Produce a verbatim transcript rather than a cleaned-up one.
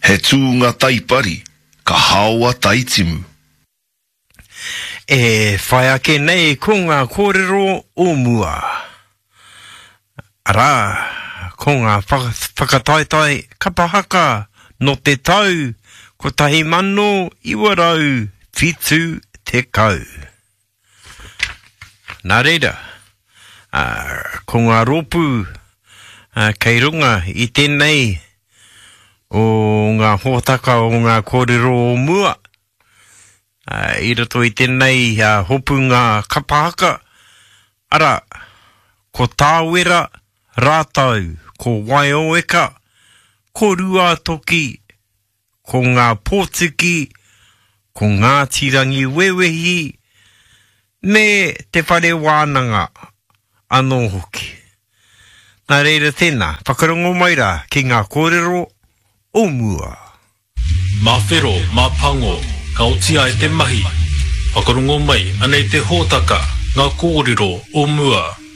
He tūnga taipari, ka haoa taitimu. E whai ake nei ko ngā kōrero o mua. Arā, ko ngā whakataetae kapa haka nō te tau kotahi mano iwa rau whitu tekau. Nā reira, ko ngā rōpū kei runga i tēnei o ngā hōtaka o ngā kōrero o mua, i roto i tēnei hopunga kapa haka, arā, ko Tāwera rātou, ko Waioeka, ko Ruātoki, ko Ngā Pōtiki, ko Ngāti Rangiwewehi, me Te Whare Wānanga anō hoki. Nā reira tēnā, whakarongo mai rā ki ngā kōrero o mua. Mā whero, mā pango, ka oti ai te mahi. Whakarongo mai, anei te hōtaka, ngā kōrero o mua.